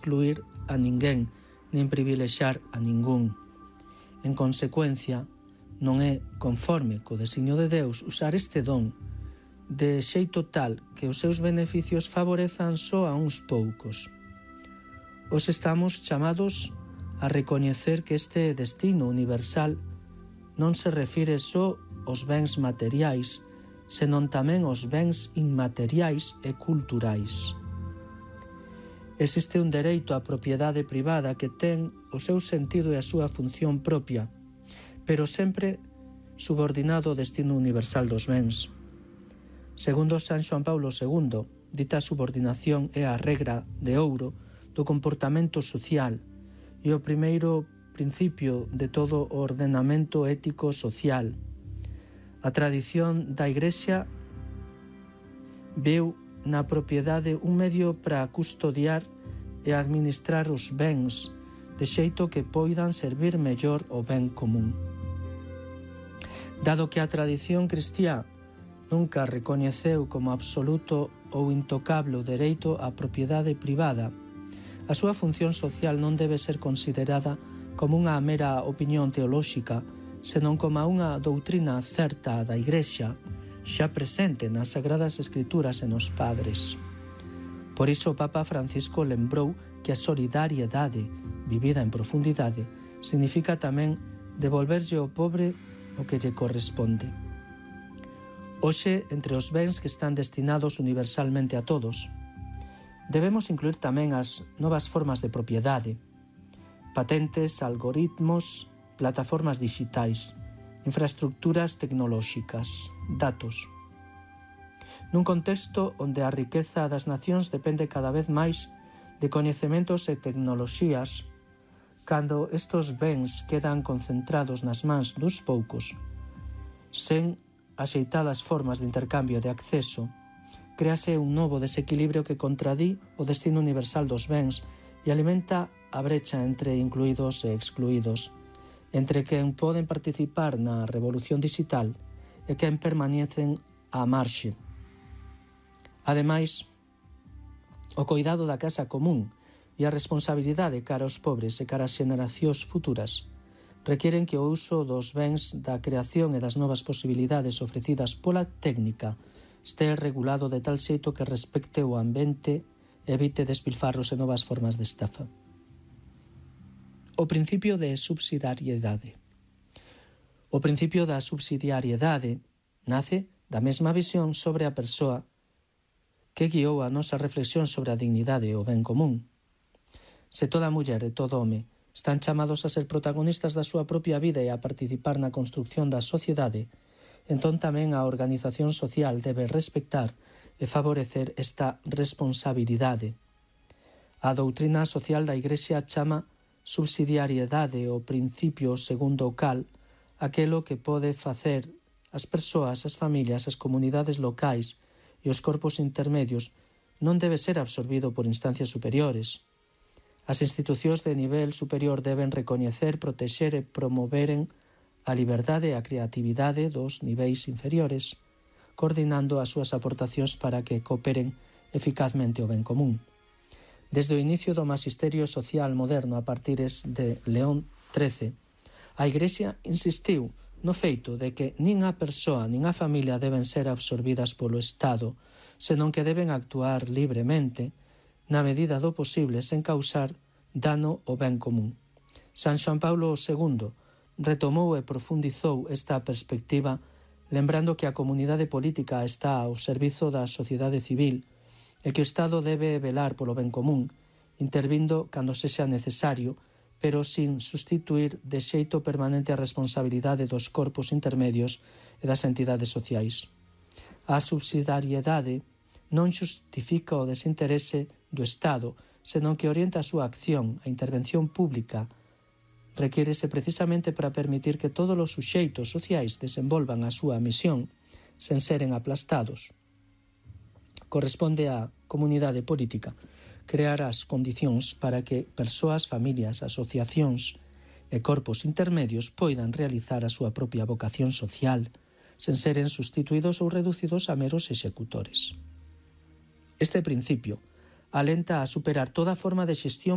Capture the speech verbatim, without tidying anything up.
excluir a ninguén, nin privilexar a ningún. En consecuencia, non é conforme co designio de Deus usar este don de xeito tal que os seus beneficios favorezan só a uns poucos. Os estamos chamados a recoñecer que este destino universal non se refire só aos bens materiais, senón tamén aos bens inmateriais e culturais. Existe un dereito á propiedade privada que ten o seu sentido e a súa función propia, pero sempre subordinado ao destino universal dos bens. Segundo San Xoán Paulo segundo, dita subordinación é a regra de ouro do comportamento social e o primeiro principio de todo o ordenamento ético social. A tradición da Igrexa veu na propiedade un medio para custodiar e administrar os bens de xeito que poidan servir mellor o ben común. Dado que a tradición cristiá nunca recoñeceu como absoluto ou intocable o dereito á propiedade privada, a súa función social non debe ser considerada como unha mera opinión teolóxica, senón como unha doutrina certa da Igrexa, xa presente nas Sagradas Escrituras e nos Padres. Por iso o Papa Francisco lembrou que a solidariedade vivida en profundidade significa tamén devolverlle ao pobre o que lle corresponde. Hoxe, entre os bens que están destinados universalmente a todos, debemos incluir tamén as novas formas de propiedade, patentes, algoritmos, plataformas digitais, infraestructuras tecnolóxicas, datos. Nun contexto onde a riqueza das nacións depende cada vez máis de coñecementos e tecnoloxías, cando estes bens quedan concentrados nas mans dos poucos, sen axeitadas formas de intercambio de acceso, créase un novo desequilibrio que contradí o destino universal dos bens e alimenta a brecha entre incluídos e excluídos, entre quen poden participar na revolución digital e quen permanecen á marxe. Ademais, o coidado da casa común e a responsabilidade cara aos pobres e cara ás xeneracións futuras requieren que o uso dos bens da creación e das novas posibilidades ofrecidas pola técnica este regulado de tal xeito que respecte o ambiente e evite despilfarros e novas formas de estafa. O principio de subsidiariedade. O principio da subsidiariedade nace da mesma visión sobre a persoa que guiou a nosa reflexión sobre a dignidade e o ben común. Se toda muller e todo home están chamados a ser protagonistas da súa propia vida e a participar na construción da sociedade, entón tamén a organización social debe respectar e favorecer esta responsabilidade. A doutrina social da Igrexa chama subsidiariedade o principio segundo o cal aquelo que pode facer as persoas, as familias, as comunidades locais e os corpos intermedios non debe ser absorbido por instancias superiores. As institucións de nivel superior deben recoñecer, protexer e promoveren a liberdade e a creatividade dos niveis inferiores, coordinando as súas aportacións para que cooperen eficazmente o ben común. Desde o inicio do magisterio social moderno a partires de León trece, a Igrexa insistiu no feito de que nin a persoa nin a familia deben ser absorbidas polo Estado, senón que deben actuar libremente, na medida do posible, sen causar dano ao ben común. San Xoán Paulo segundo retomou e profundizou esta perspectiva, lembrando que a comunidade política está ao servizo da sociedade civil e que o Estado debe velar polo ben común, intervindo cando sexa necesario, pero sin sustituir de xeito permanente a responsabilidade dos corpos intermedios e das entidades sociais. A subsidiariedade non xustifica o desinterese do Estado, senón que orienta a súa acción, a intervención pública, requírese precisamente para permitir que todos os suxeitos sociais desenvolvan a súa misión sen seren aplastados. Corresponde á comunidade política crear as condicións para que persoas, familias, asociacións e corpos intermedios poidan realizar a súa propia vocación social sen seren sustituídos ou reducidos a meros executores. Este principio alenta a superar toda forma de xestión